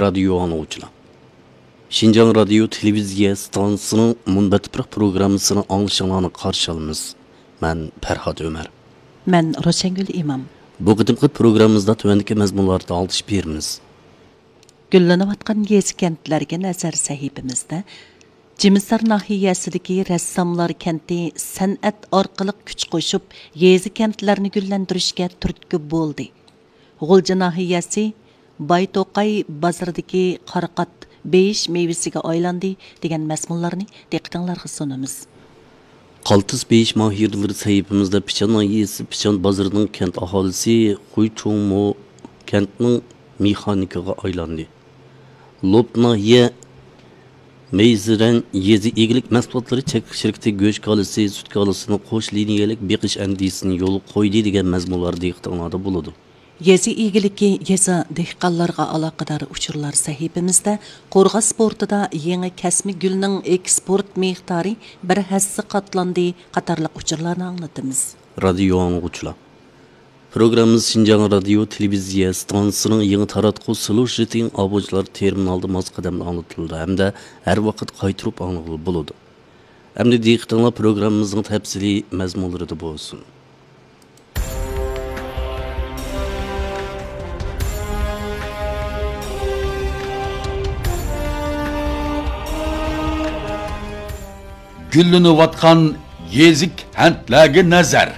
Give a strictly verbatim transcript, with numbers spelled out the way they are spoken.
رادىيو ئاڭلىغۇچىلار، شىنجاڭ رادىيو تېلېۋىزىيە ئىستانسىسىنىڭ مۇنبەت تۇپراق پروگراممىسىنى ئاڭلىشىڭلارنى قارشى ئالىمىز. مەن پەرھات ئۆمەر. مەن روشەنگۈل ئىمام. بۇ قېتىمقى پروگراممىمىزدا تۆۋەندىكى مەزمۇنلاردا ئاڭلىتىش بېرىمىز. گۈللىنىۋاتقان يېزا-كەنتلەرگە نەزەر سەھىپىمىزدە، جىمىسار ناھىيەسىدىكى رەسساملار كەنتى سەنئەت ئارقىلىق كۈچ قوشۇپ، يېزا-كەنتلەرنى گۈللەندۈرۈشكە تۈرتكە بولدى. غۇلجا ناھىيەسى بايتوقاي بازىرىدىكى قارىقات بېيىش مېۋىسىگە ئايلاندى، دېگەن مەزمۇنلارنى دىققىتىڭلارغا سۇنىمىز. قالتىس بېيىش ماھىرلىرى سەھىپىمىزدە پىچان ناھىيەسى پىچان بازىرىنىڭ كەنت ئاھالىسى خۇي چۇڭمو كەنتنىڭ مېخانىكىغا ئايلاندى. لوپ ناھىيە مەيزىرەن يېزا ئىگىلىك مەھسۇلاتلىرى چەكلىك شىركىتى گۆش كالىسى، سۈت كالىسىنى قوش لىنىيەلىك بېقىش ئەندىزىسىنى يولغا قويدى، دېگەن مەزمۇنلار دىققىتىڭلاردا بولىدۇ. يېزا ئىگىلىكى، يېزا دېھقانلارغا ئالاقىدار ئۇچۇرلار سەھىپىمىزدە قورغاس پورتىدا يېڭى كەسمە گۈلنىڭ ئېكسپورت مىقدارى بىر ھەسسە قاتلاندى قاتارلىق ئۇچۇرلارنى ئاڭلىتىمىز. رادىيو ئاڭلىغۇچىلار، پروگراممىمىز شىنجاڭ رادىيو تېلېۋىزىيە ئىستانسىسىنىڭ يېڭى تاراتقۇ سلوشىتىڭ ئاۋۇچىلار تېرمىنالدا ماس قەدەمدە ئاڭلىتىلىدۇ ھەمدە ھەر ۋاقىت قايتۇرۇپ ئاڭلىغىلى بولىدۇ. ئەمدى دىققىتىڭلار پروگراممىمىزنىڭ تەپسىلىي مەزمۇنلىرىدا بولسۇن. گۈللىنىۋاتقان يېزا كەنتلەرگە نەزەر.